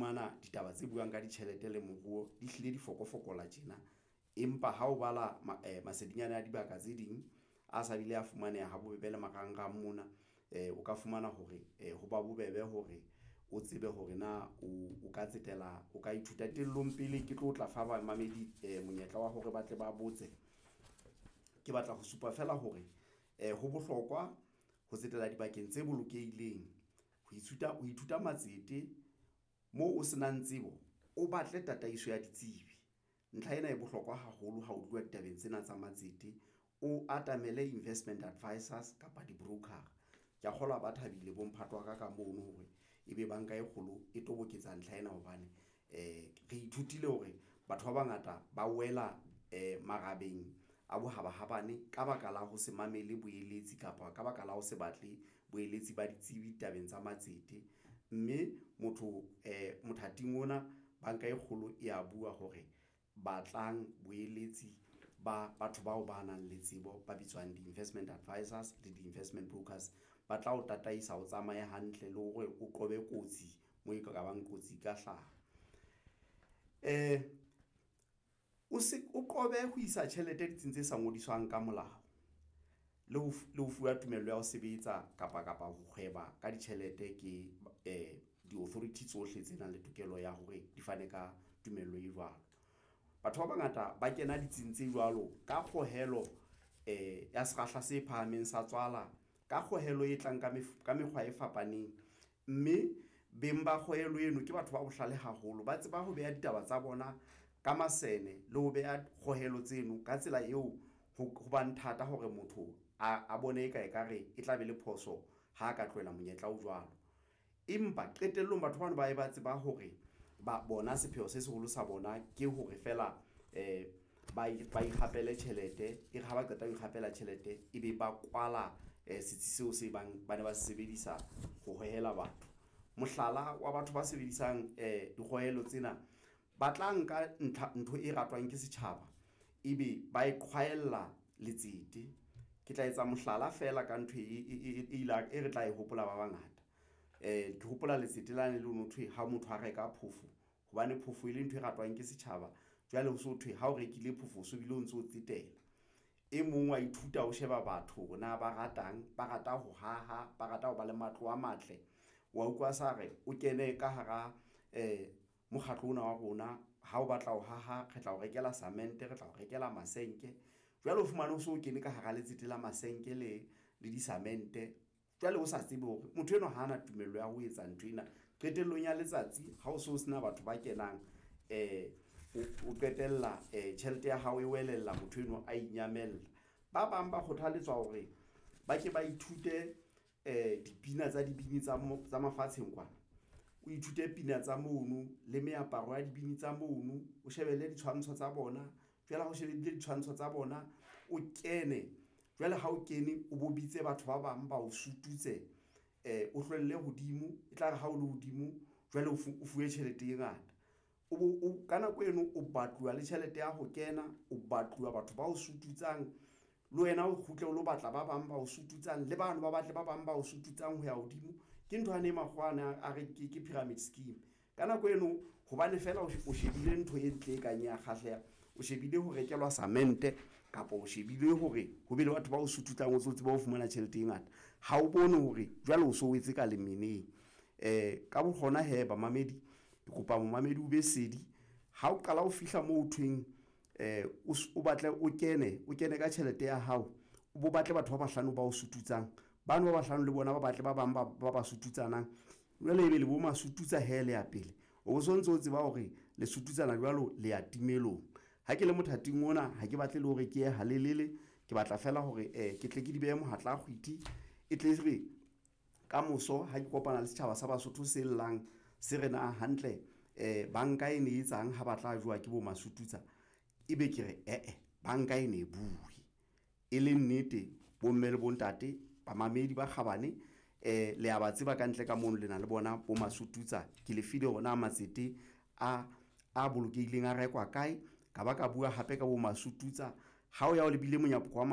fumana ditaba tse buang ka ditjhelete le moruo di hlile di fokofokola tjena. Empa ha o bala masedinyana a dibaka tse ding a sa bile a fumaneha ha bobebe le marangrang mona, o ka fumana hore ho ba bobebe hore o tsebe hore na o ka tsetela, o ka ithuta. Qetellong pele ke tlo tla fa bamamedi monyetla wa hore ba tle ba botse. Ke batla ho supa feela hore ho bohlokwa ho tsetela dibakeng tse bolokehileng, ho ithuta matsete moo o se nang tsebo, o batle tataiso ya ditsebi. Ntlha ena e bohlokwa haholo ha ho tluwa ditabeng tsena tsa matsete, o atamele investment advisors kapa di-broker. Kea kgolwa ba thabile bo mphato wa ka mono hore ebe banka e kgolo e toboketsa ntlha ena hobane re ithutile hore batho ba bangata ba wela marabeng a bohabahabane ka baka la ho se mamele boeletsi kapa ka baka la ho se batle boeletsi ba ditsebi tabeng tsa matsete, mme motho mothating ona banka e kgolo e ya bua hore batlang boeletsi ba batho bao ba nang le tsebo ba bitswang di-investment advisors le di-investment brokers. Ba tla o tataisa, o tsamaye hantle le hore o qobe kotsi moo e ka bang kotsi e ka hlaha. O se o qobe ho isa tjhelete ditsing tse sa ngodiswang ka molao le ho fuwa tumello ya ho sebetsa kapa ho hweba ka ditjhelete ke di-authority tsohle tse nang le tokelo ya hore di fane ka tumello e jwalo. Batho ba bangata ba kena ditsing tse jwalo ka kgohelo ya sekgahla se phahameng sa tswala ka kgohelo e tlang ka mekgwa e fapaneng, mme beng ba kgohelo eno ke batho ba bohlale haholo, ba tseba ho beha ditaba tsa bona ka masene le ho beha kgohelo tseno ka tsela eo ho bang thata hore motho a bone eka ekare e tla be le phoso ha ka tlohela monyetla o jwalo. Empa qetellong batho bano ba ba tseba hore ba bona sepheo se seholo sa bona ke hore feela ba ikgapele tjhelete e re ha ba qeta ho ikgapela tjhelete, ebe ba kwala setsi seo se bang ba ne ba se sebedisa ho hohela batho. Mohlala wa batho ba sebedisang dikgohelo tsena ba tla nka ntho e ratwang ke setjhaba, ebe ba e qhwaella letsete. Ke tla etsa mohlala feela ka ntho e re tla e hopola ba bangata. Ke hopola letsete lane le ho thwe ha motho a reka phofo hobane phofo e le ntho e ratwang ke setjhaba. Jwale ho so thwe ha o rekile phofo, o so bile o ntso tsetela. E mong wa ithuta ho sheba batho hore na ba ratang, ba rata ho haha, ba rata ho ba le matlo a matle. Wa utlwa sa re o kene ka hara mokgatlo ona wa rona. Ha o batla ho haha, re tla o rekela cement, re tla o rekela masenke. Jwale o fumane o so kene ka hara letsete la masenke le disamente. Jwale o sa tsebe hore motho enwa ha ana tumello ya ho etsa nthwena. Qetellong ya letsatsi ha o so sena batho ba kenang o qetella tjhelete ya hao e welella motho enwa a inyamella. Ba bang ba kgothaletswa hore ba ke ba ithute dipina tsa dibini tsa tsa mafatsheng kwana. O ithute pina tsa mono le meaparo ya dibini tsa mono, o shebelle ditshwantsho tsa bona. Jwale ha o shebile ditshwantsho tsa bona, o kene jwale ha o kene, o bo bitse batho ba bang ba o sututse o hlwelle hodimo e tlare ha o le hodimo jwale o fuwe tjhelete e ngata. O bo o ka nako eno o batluwa le tjhelete ya ho kena, o batluwa batho ba o sututsang le wena o kgutle o lo batla ba bang ba o sututsang le bano ba batle ba bang ba o sututsang ho ya hodimo. Ke ntho yane e makgowa ane a re ke pyramid scheme. Ka nako eno, hobane feela o shebile ntho e ntle e kang ya kgahleha, o shebile ho rekelwa samente kapa o shebile hore ho be le batho ba o sututsang, o tlo tsebe ho fumana tjhelete e ngata. Ha o bone hore jwale o so wetse ka lemeneng. Ka bo hona hee bamamedi, ke kopa momamedi o be sedi ha o qala ho fihla moo ho thweng o batle o kene, o kene ka tjhelete ya hao, o bo batle batho ba bahlano ba o sututsang. Bano ba bahlano le bona ba batle ba bang ba sututsanang. Jwale ebe le bo masututsa hee le ya pele, o sontso o tseba hore le sututsana jwalo le ya timelong. Ha ke le mothating ona, ha ke batle le hore ke ye halelele, ke batla feela hore ke tle ke di behe mohatla kgwiti e tle re kamoso ha ke kopana le setjhaba sa Basotho se llang se re na hantle banka e ne etsang ha ba tla jowa ke bo masututsa, ebe ke re ee, banka e ne bue e le nnete. Bomme le bontate, bamamedi ba kgabane, le a ba tseba kantle ka mono le na le bona bo masututsa. Ke le file hore na matsete a bolokehileng a rekwa kae, ka ba ka bua hape ka bo masututsa ha o ya o lebile monyako wa.